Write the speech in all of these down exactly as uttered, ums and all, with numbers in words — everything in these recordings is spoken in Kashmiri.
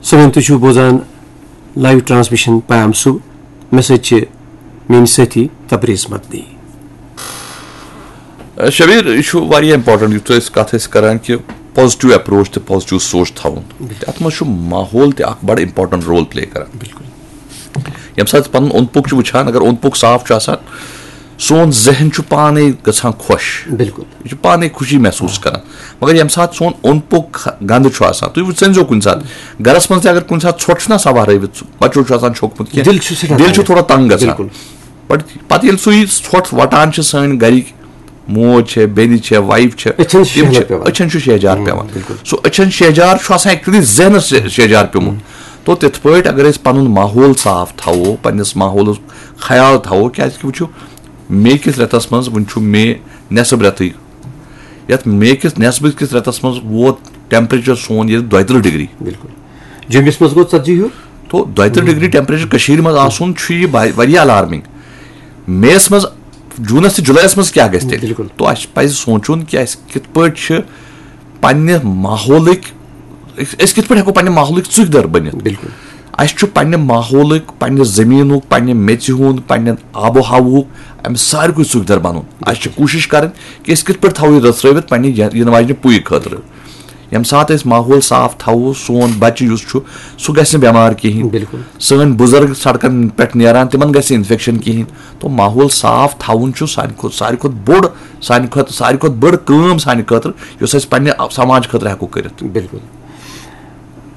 سٲنۍ تُہۍ چھِو بوزان لایو ٹرانسمیشن پیام صبح۔ مےٚ سۭتۍ چھِ میٲنۍ سٲتھی تبریز مدنی۔ شبیر، یہِ چھُ واریاہ امپورٹنٹ یُتھ أسۍ کتھ ٲسۍ کران کہِ پازیٹیو اپروچ تہٕ پازیٹیو سونچ تھاوُن۔ اتھ منٛز چھُ ماحول تہِ اکھ بڑٕ امپورٹنٹ رول پلے کران۔ بالکل۔ ییٚمہِ ساتہٕ أسۍ پنُن اوٚنٛد پوٚک چھِ وٕچھان، اگر اوٚنٛد پوٚک صاف چھُ آسان، سون ذہن چھُ پانے گژھان خۄش۔ بالکل۔ یہِ چھُ پانے خوشی محسوٗس کران۔ مگر ییٚمہِ ساتہٕ سون اوٚنٛد پوٚک خ- گنٛدٕ چھُ آسان، تُہۍ ؤنۍ زیو کُنہِ ساتہٕ، گرس منٛز تہِ اگر کُنہِ ساتہٕ ژھۄٹھ چھُنہ آسان وہرٲوِتھ، بچو چھُ آسان چھوٚکمُت کینٛہہ، دِل چھُ سٮ۪ٹھاہ دِل چھُ تنگ۔ تھوڑا تنگ گژھان۔ بالکل۔ پتہٕ پتہٕ ییٚلہِ سُہ یہِ ژھۄٹھ وٹان چھِ، سٲنۍ گرِکۍ موج چھےٚ، بیٚنہِ چھےٚ، وایف چھےٚ، أچھن چھُ تِم شہجار چھِ پٮ۪وان۔ أچھن چھُ شہجار ہُم، پٮ۪وان۔ بالکل۔ سُہ أچھن شہجار چھُ آسان ایکچولی ذہنس شہ- شہجار پیومُت۔ تو تِتھ پٲٹھۍ اگر أسۍ پنُن ماحول صاف تھاوو، پننِس ماحولُک خیال تھاوو، کیازِ کہِ وٕچھِو، مے کِس رٮ۪تس منٛز، وٕنہِ چھُ مے نٮ۪صٕب رٮ۪تٕے، یتھ مے کِس نٮ۪صبہٕ کِس رٮ۪تس منٛز ووت ٹیمپریچر سون ییٚتہِ دۄیہِ ترٕٛہ ڈگری۔ بالکل۔ جوٚمِس منٛز گوٚو ژتجی ہیوٚر۔ تو دۄیہِ ترٕٛہ ڈگری ٹیمپریچر کٔشیٖرِ منٛز آسُن چھُ یہِ با- واریاہ الارمنگ۔ مے یس منٛز، جوٗنس تہٕ جُلایس منٛز کیٛاہ گژھِ تیٚلہِ؟ بالکل۔ تو اَسہِ پَزِ سونٛچُن کہِ اَسہِ کِتھ پٲٹھۍ چھِ پننہِ ماحولٕکۍ، أسۍ أسۍ کِتھ پٲٹھۍ ہٮ۪کو پننہِ ماحولٕکۍ ژُکۍ دَر بٔنِتھ؟ بالکل۔ اَسہِ چھُ پننہِ ماحولٕکۍ، پننہِ زٔمیٖنُک، پننہِ میٚژِ ہُنٛد، پننہِ آب و ہوہُک، اَمہِ ساروٕے ژُکۍ دَر بَنُن۔ اَسہِ چھِ کوٗشِش کَرٕنۍ کہِ أسۍ کِتھ پٲٹھۍ تھاوو یہِ رٔژھرٲوِتھ پننہِ ین- یِنہٕ واجنہِ پُیہِ خٲطرٕ۔ ییٚمہِ ساتہٕ أسۍ ماحول صاف تھاوو، سون بچہِ یُس چھُ، سُہ گژھِ نہٕ بٮ۪مار کِہیٖنۍ۔ بالکل۔ سٲنۍ بُزرگ سڑکن پٮ۪ٹھ نیران، تِمن گژھِ نہٕ انفیکشن کِہیٖنۍ۔ تو ماحول صاف تھاوُن چھُ سانہِ کھۄتہٕ، ساروی کھۄتہٕ بوٚڑ، سانہِ کھۄتہٕ، ساروی کھۄتہٕ بٔڑ کٲم سانہِ خٲطرٕ، یۄس أسۍ پننہِ سماج خٲطرٕ ہٮ۪کو کٔرِتھ۔ بالکل۔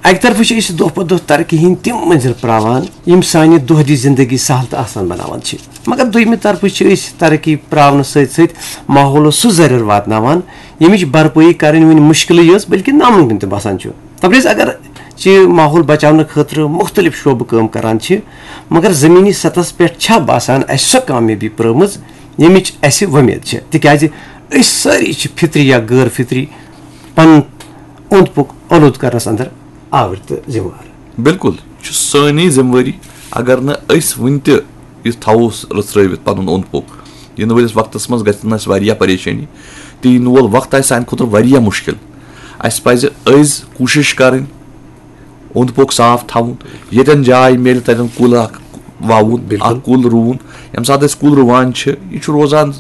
اَکہِ طرفہٕ چھِ أسۍ دۄہ پتہٕ دۄہ ترقی ہٕنٛدۍ تِم مٔنزِل پراوان، یِم سانہِ دۄہ دِش زندگی سہل تہٕ آسان بناوان چھِ، مگر دوٚیمہِ طرفہٕ چھِ أسۍ ترقی پراونہٕ سۭتۍ سۭتۍ ماحولس سُہ زرٮ۪ر واتناوان، ییٚمِچ بھرپٲیی کرٕنۍ وُنہِ مُشکلٕے یٲژ بلکہِ ناممکن تہِ باسان چھُ۔ تبریز، اگر چہِ ماحول بچاونہٕ خٲطرٕ مُختٔلِف شعبہٕ کٲم کران چھِ، مگر زمینی سطحس پٮ۪ٹھ چھا باسان اسہِ سۄ کامیٲبی پرٲومٕژ، ییٚمِچ اسہِ وۄمید چھِ؟ تِکیازِ أسۍ سٲری چھِ فطری یا غٲر فطری پنُن اوٚنٛد پوٚک آلودٕ کرنس اندر آوٕرۍ تہٕ ذمہٕ وار۔ بالکل، یہِ چھُ سٲنی ذمہٕ وٲری۔ اگر نہٕ أسۍ وُنہِ تہِ یہِ تھاوو رٔژھرٲوِتھ پنُن اوٚنٛد پوٚک، یِنہٕ وٲلِس وقتس منٛز گژھِ نہٕ اَسہِ واریاہ پریشٲنی، تہٕ یِنہٕ وول وقت آسہِ سانہِ خٲطرٕ واریاہ مُشکل۔ اَسہِ پزِ أزۍ کوٗشِش کرٕنۍ اوٚنٛد پوٚک صاف تھاوُن، ییٚتٮ۪ن جاے میلہِ تتٮ۪ن کُل اکھ وَوُن، بالکل۔ اکھ کُل رُوُن۔ ییٚمہِ ساتہٕ أسۍ کُل رُوان چھِ، یہِ چھُ روزان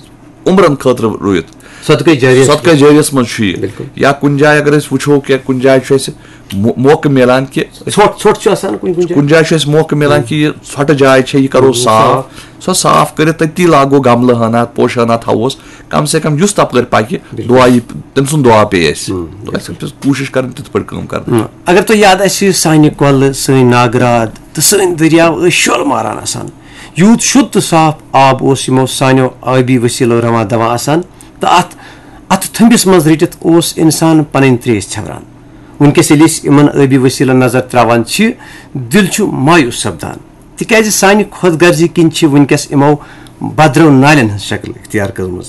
عمرن خٲطرٕ رُوِتھ۔ صدقے جاریہ۔ صدقے جاریہس منٛز چھُ یہِ۔ بالکل۔ یا کُنہِ جایہِ اگر أسۍ وٕچھو کہِ کُنہِ جایہِ چھُ اَسہِ مو- موقعہٕ میلان کہِ أسۍ ژھۄٹھ، ژھۄٹھ چھُ آسان کُنہِ کُنہِ جایہِ۔ کُنہِ جایہِ چھُ اَسہِ موقعہٕ میلان کہِ یہِ ژھۄٹہٕ جاے چھےٚ، یہِ کرو ہُم، صاف۔ صاف۔ سۄ صاف کٔرِتھ تٔتی لاگو گملہٕ ہنا، پوشہٕ ہنا تھاووس، کم سے کم یُس تپٲرۍ پکہِ، بالکل۔ دعا یی، تٔمۍ سُنٛد دعا پیٚیہِ اَسہِ۔ ہُم، تو اَسہِ چھِ کوٗشِش کرٕنۍ تِتھ پٲٹھۍ کٲم کرٕنۍ۔ ہُم۔ اگر تۄہہِ یاد آسہِ، سانہِ کۄلہٕ، سٲنۍ ناگراد تہٕ سٲنۍ دٔریاو ٲسۍ شۄل ماران آسان۔ یوٗت شُد تہٕ صاف آب اوس یِمو سانیو ٲبی وسیلو رواں دواں آسان، تہٕ اتھ، اتھٕ تھٔمبِس منٛز رٔٹِتھ اوس انسان پنٕنۍ تریش ژھٮ۪وران۔ وٕنکیٚس ییٚلہِ أسۍ یِمن ٲبی وسیلن نظر تراوان چھِ، دِل چھُ مایوس سپدان، تِکیازِ سانہِ خۄد غرضی کِنۍ چھِ وٕنکیٚس یِمو بدرو نالٮ۪ن ہٕنٛز شکل اختیار کٔرمٕژ۔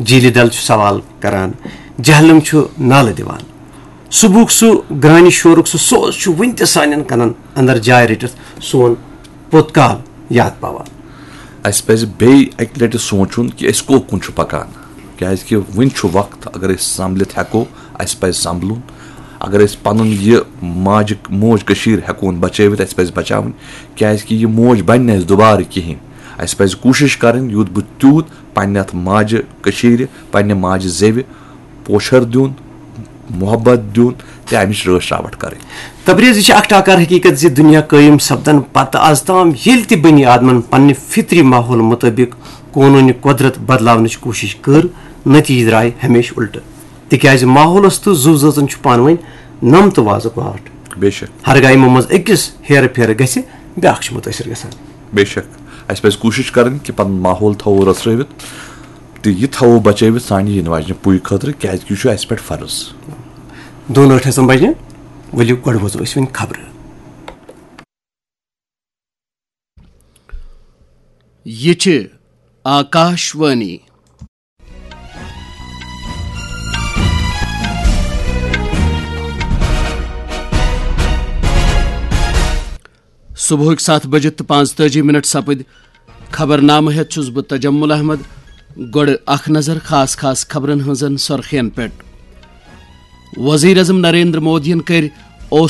جیٖلہِ ڈل چھُ سوال کران، جہلم چھُ نالہٕ دِوان۔ صبحُک سُہ گرٛانہِ شورُک سُہ سوز چھُ وُنہِ تہِ سانٮ۪ن کنن اندر جاے رٔٹِتھ سون پوٚت کال یاد پاوان۔ اَسہِ پَزِ بیٚیہِ اَکہِ لَٹہِ سونٛچُن کہِ أسۍ کوٚت کُن چھُ پَکان، کیٛازِکہِ وُنہِ چھُ وقت۔ اگر أسۍ سنبھلِتھ ہٮ۪کو، اَسہِ پَزِ سنبھلُن۔ اگر أسۍ پَنُن یہِ ماجہِ، موج کٔشیٖر ہٮ۪کون بَچٲوِتھ، اَسہِ پَزِ بَچاوٕنۍ، کیٛازِکہِ یہِ موج بَنہِ نہٕ اَسہِ دُبارٕ کِہیٖنۍ۔ اَسہِ پَزِ کوٗشِش کَرٕنۍ یوٗت بہٕ تیوٗت پننہِ اتھ ماجہِ کٔشیٖرِ، پننہِ ماجہِ زیوِ پوچھر دیُن، محبت دیُن تہٕ امِچ رٲچھ راوٹھ کرٕنۍ۔ تبریز، یہِ چھِ اکھ ٹاکار حقیقت زِ دُنیا قٲیِم سپدن پتہٕ از تام ییٚلہِ تہِ بنی آدمن پننہِ فطری ماحول مطٲبق قونوٗنِ قۄدرت بدلاونٕچ کوٗشش کٔر، نتیجہٕ درٛاے ہمیشہٕ الٹہٕ، تِکیازِ ماحولس تہٕ زُو زٲژن چھُ پانہٕ ؤنۍ نم تہٕ وازُک واٹھ۔ بے شک۔ ہرگاہ یِمو منٛز أکِس ہیرٕ پھیرٕ گژھِ، بیٛاکھ چھُ مُتٲثر گژھان۔ بے شک۔ اسہِ پزِ کوٗشش کرٕنۍ کہِ پنُن ماحول تھاوو رژھرٲوِتھ تہٕ یہِ تھاوو بچٲوِتھ سانہِ یِنہٕ واجنہِ پُیہِ خٲطرٕ، کیازِ کہِ یہِ چھُ اسہِ پٮ۪ٹھ فرض۔ دۄن ٲٹھ ہٮ۪ژن بجہِ، ؤلِو گۄڈٕ بوزو أسۍ وۄنۍ خبرٕ۔ یہِ چھِ آکاش وانی۔ صبحٕکۍ ستھ بجہِ تہٕ پانٛژتٲجی منٹ سپٕدۍ۔ خبرنامہٕ ہٮ۪تھ چھُس بہٕ تجمل احمد۔ گۄڈٕ اکھ نظر خاص خاص خبرن ہٕنٛزن سرخین پٮ۪ٹھ۔ وزیر اعظم نریندر مودیَن کٔرۍ